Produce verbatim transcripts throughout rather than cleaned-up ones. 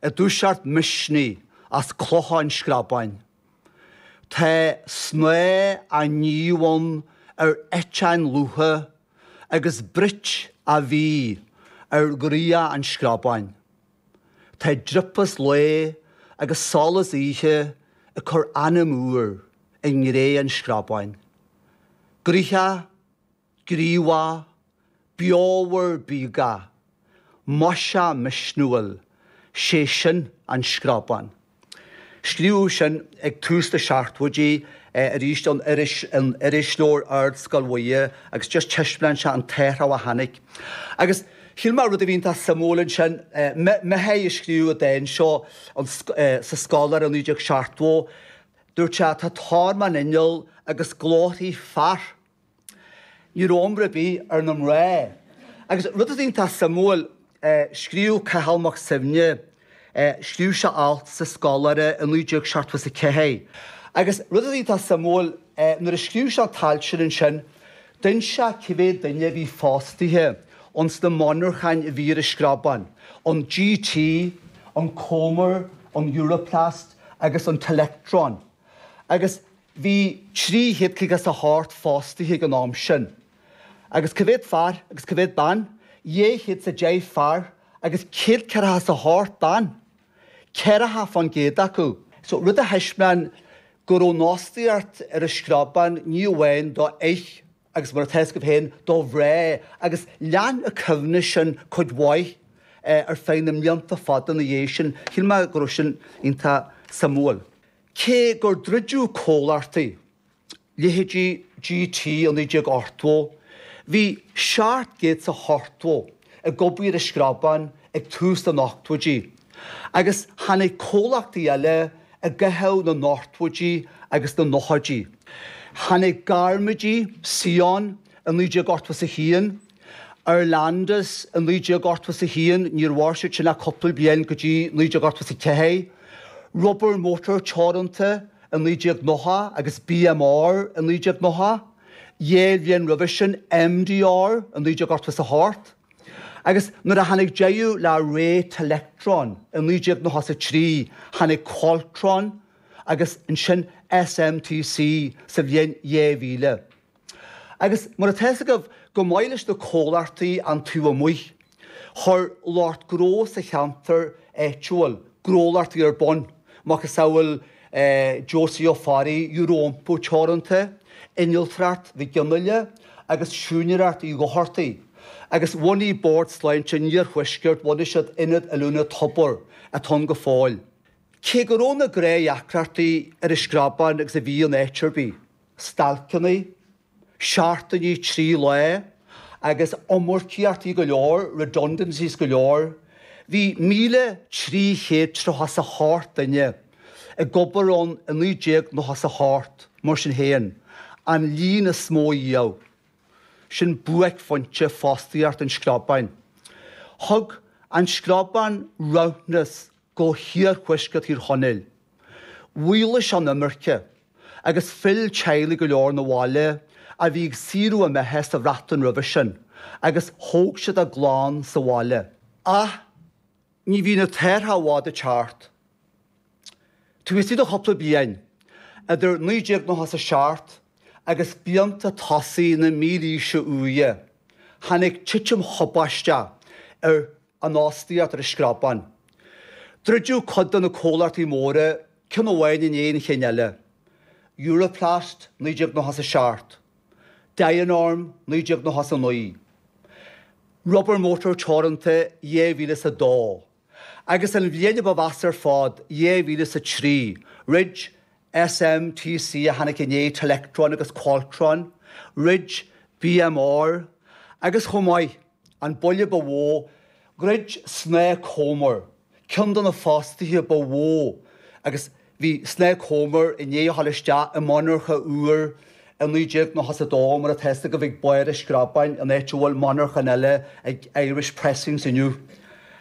ag dúiseacht misnigh as clocha an Screabáin. Tá snáth á níomh ann ar eiteáin lútha agus bruit á bhí ar ghraíocht an Screabáin. Tá driopás lae agus solas oíche ag cur anam úr i ngré an Screabáin. Gnoitheach, gníomhach, beomhar bíogach, maiseach misniúil, sé sin an Screabán. Scríobhadh sin ag tús na seachtóidí arís an iris an irisleabhar Ardscoil Mhuire agus just taispeánann sé an t-athrú a tháinig. Agus shíl mé rud a bhí iontach suimiúil ansin, Micheál a scríobh an dán seo sa Scoláire naoi déag seachtó, dúirt sé tá tormán inneall agus glórthaí fear. Ní raibh iomrá ar bith ar na mná. Agus rud a bhí iontach suimiúil, scríobh Cathal Mac Suibhne, scríobh sé alt sa Scoláire i naoi déag seachtó is a ceathair. Agus rud a bhí iontach suimiúil, nuair a scríobh sé an t-alt sin ansin, d'inis sé cé mhéad duine a bhí fostaithe ins na monarchain a bhí ar an Screabán, an GT, an Comer, an Europlast agus an Telectron. Agus bhí trí chéad caoga is a hocht fostaithe ag an am sin. Agus cá mhéad fear agus cá mhéad bean, dhá chéad is a deich fear agus céad ceathracha is a hocht bean. Ceathracha fán gcéad acu. So rud a thaispeáin go raibh an fhostaíocht ar an Screabán ní amháin do fhir agus mar atá a fhios agaibh féin do mhná agus lean an cuimhne sin cuid mhaith ar feadh na mblianta fada ina dhiaidh sin. Shíl mé go raibh sin iontach suimiúil. Cé gur druideadh comhlachtaí, leithéidí GT i naoi déag ochtó, bhí seacht gcéad is a hochtó ag obair ar an Screabán ag tús na n-ochtóidí, agus tháinig comhlachtaí eile i gcaitheamh na n-ochtóidí agus na nóchaidí. Tháinig Gairmidí, Sion i naoi déag ochtó is a haon, Arlandis i naoi déag ochtó is a haon, níor mhair siad sin ach cúpla bliain go dtí naoi déag ochtó is a ceathair, Rubber Motor Teoranta i naoi déag nócha agus BMR i naoi déag nócha, dhá bhliain roimhe sin MDR i naoi déag ochtó is a hocht, agus nuair a tháinig deireadh le ré Telectron i naoi déag nócha is a trí, tháinig Qualtron agus ansin SMTC sa bhliain dhá mhíle. Agus mar atá a fhios agaibh, go maith leis na comhlachtaí an taobh amuigh, chuir lucht gnó sa cheantar áitiúil gnólachtaí ar bun, macasamhail Josie Ó Fearraigh, Euroiompú Teoranta, Innealtóireacht Mhic Fhionnghaile agus Siúinéireacht Uí Dhochartaigh. Agus bhunaigh Bord Sláinte an Iarthuaiscirt, bhunaigh siad Ionad Oiliúna Tobar atá ann go fóill. Cé go raibh na gnáthdheacrachtaí ar an Screabán agus a bhí in áit ar bith, stailceanna, seachtainí trí lá agus iomarcaíochtaí go leor, redundancies go leor, bhí míle trí chéad tríocha is a hocht duine ag obair ann i naoi déag nócha is a hocht, mar sin féin, an líon is mó riamh. Sin buaicphointe fostaíocht an Screabáin. Thug an Screabán rathúnas go hiarthuaisceart Thír Chonaill. Mhaolaigh sé an imirce agus phill teaghlaigh go leor 'na bhaile a bhí ag saothrú a mbeatha sa Bhreatain roimhe sin agus thóg siad a gclann sa bhaile. Ach ní bhíonn an t-athrú i bhfad ag teacht. Taobh istigh de chúpla bliain, idir naoi déag nócha is a seacht agus blianta tosaigh na mílaoise úire, tháinig titim thubaisteach ar an fhostaíocht ar an Screabán. Druideadh cuid de na comhlachtaí móra, ceann amháin i ndiaidh an chinn eile, Europlast naoi déag nócha is a seacht, Dianorm naoi déag nócha is a naoi, Rubber Motor Teoranta dhá mhíle is a dó, agus an bhliain a ba mheasa ar fad, dhá mhíle is a trí, throid SMTC a tháinig i ndiaidh Telectron agus Qualtron, throid BMR, agus chomh maith, an buille ba mhó, dhruid Snáth Comer, ceann de na fostaithe ba mhó, agus bhí Snáth Comer i ndiaidh a dhul isteach i monarcha úr i naoi déag nócha is a dó, mar atá a fhios agaibh ag barr an Screabáin, an áit a bhfuil monarchan eile ag Irish Pressings inniu.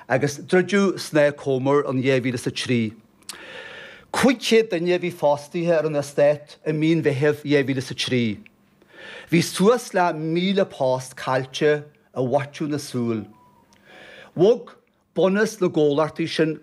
Agus druideadh Snáth Comer in dhá mhíle is a trí. Cúig chéad duine a bhí fostaithe ar an eastát i mí an Mheithimh dhá mhíle is a trí. Bhí suas le míle post caillte i bhfaiteadh na súl. Bhog bunús na gcomhlachtaí sin